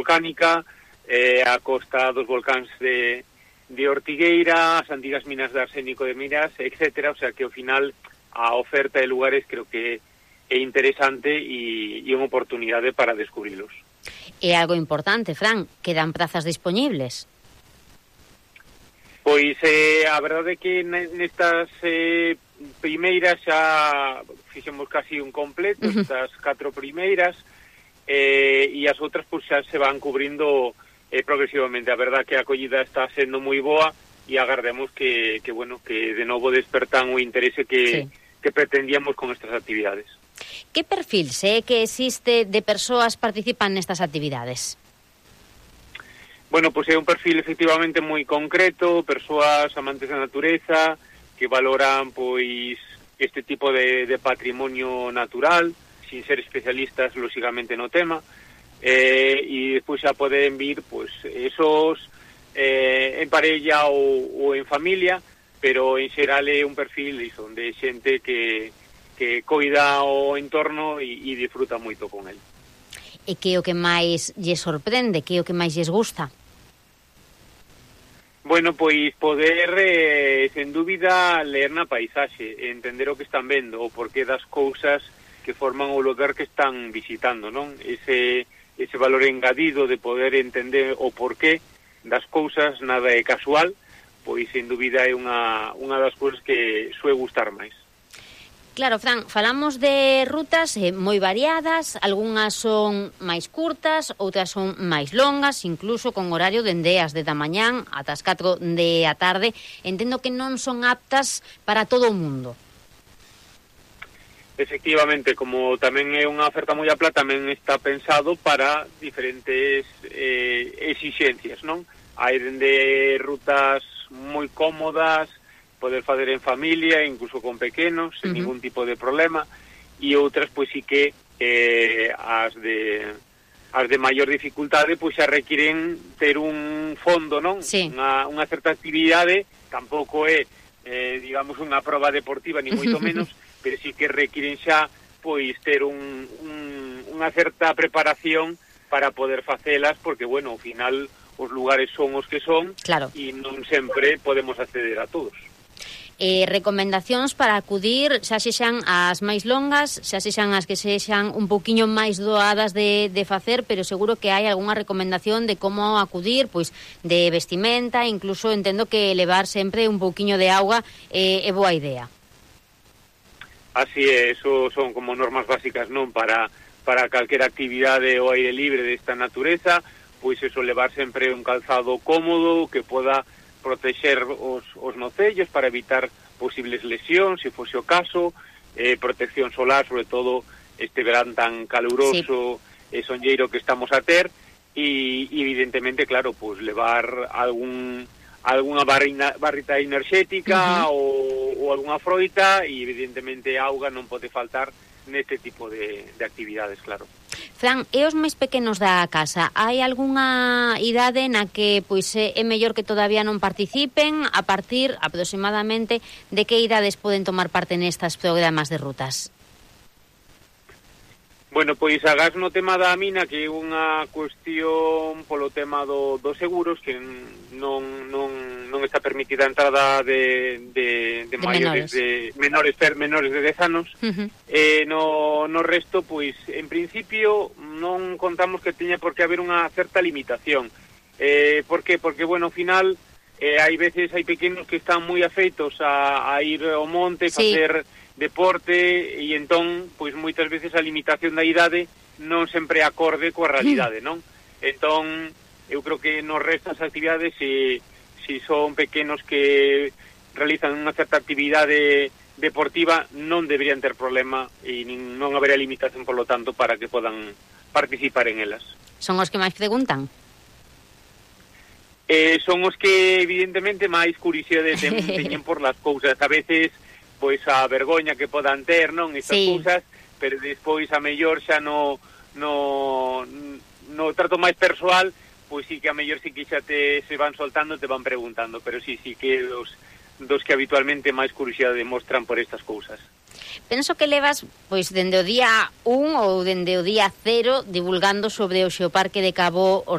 volcánica, a costa dos volcáns de Ortigueira, as antigas minas de arsénico de Miras, etcétera. O sea que ao final a oferta de lugares creo que é interesante e unha oportunidade para descubrilos. É algo importante, Fran, quedan prazas dispoñibles. Pois a verdade é que nestas primeiras xa fixemos casi un completo, estas 4 primeiras, e as outras pois xa se van cubrindo progresivamente. A verdade que a acollida está sendo moi boa e agardemos que de novo despertan o interese que pretendíamos con estas actividades. Que perfil se é que existe de persoas participan nestas actividades? Bueno, pois é un perfil efectivamente moi concreto, persoas amantes da natureza, que valoran pois este tipo de patrimonio natural, sin ser especialistas lógicamente no tema, e despois xa poden vir pois esos en parella ou en familia, pero en xeral é un perfil de xente que coida o entorno e disfruta moito con el. E que o que máis lles sorprende, que o que máis lles gusta? Bueno, pois poder, sen dúbida, ler na paisaxe, entender o que están vendo, o porqué das cousas que forman o lugar que están visitando, non? Ese valor engadido de poder entender o porqué das cousas, nada é casual, pois, sen dúbida, é unha das cousas que sue gustar máis. Claro, Fran, falamos de rutas moi variadas, algunhas son máis curtas, outras son máis longas, incluso con horario dende as 10 da mañán ata as 4 da tarde. Entendo que non son aptas para todo o mundo. Efectivamente, como tamén é unha oferta moi ampla, tamén está pensado para diferentes exixencias, non? Hai dende rutas moi cómodas, poder fazer en familia, incluso con pequenos, sen ningún tipo de problema, e outras, pois, sí que as de maior dificultade, pois, xa requiren ter un fondo, non? Sí. Unha certa actividade, tampouco é, digamos, unha proba deportiva, ni moito menos, pero sí que requiren xa, pois, ter unha certa preparación para poder facelas, porque, bueno, ao final, os lugares son os que son, claro, e non sempre podemos acceder a todos. Recomendacións para acudir, xa sexan as máis longas, xa sexan as que sexan un pouquiño máis doadas de facer, pero seguro que hai algunha recomendación de como acudir, pois de vestimenta, incluso entendo que levar sempre un pouquiño de auga é boa idea. Así é, eso son como normas básicas, non? Para calquera actividade ao aire libre desta natureza, pois eso, levar sempre un calzado cómodo que poda protexer os nocellos para evitar posibles lesións, se fose o caso, protección solar, sobre todo este verán tan caluroso e sonlleiro que estamos a ter, e evidentemente, claro, pues levar algunha barrita enerxética ou algunha froita, e evidentemente auga non pode faltar neste tipo de actividades, claro. Fran, e os máis pequenos da casa, hai algunha idade na que pois é mellor que todavía non participen? A partir aproximadamente de que idades poden tomar parte nestas programas de rutas? Bueno, pois agás no tema da mina, que é unha cuestión polo tema dos seguros, que non está permitida a entrada de maiores de menores de 10 anos. No resto, pois, en principio non contamos que teña por que haber unha certa limitación. Por que? Porque, bueno, ao final, hai pequenos que están moi afeitos a ir ao monte, facer deporte, e entón, pois moitas veces a limitación da idade non sempre acorde coa realidade, non? Entón, eu creo que nos restas actividades, se son pequenos que realizan unha certa actividade deportiva, non deberían ter problema e non haberá limitación, por lo tanto, para que podan participar en elas. Son os que máis preguntan? Son os que, evidentemente, máis curiosidade teñen por las cousas. A veces, pois a vergoña que podan ter, non, estas cousas, pero despois a mellor xa no trato máis persoal, pois sí que a mellor sí que xa se van soltando, te van preguntando, pero sí que dos que habitualmente máis curiosidade demostran por estas cousas. Penso que levas, pois, dende o día 1 ou dende o día 0 divulgando sobre o Xeoparque de Cabo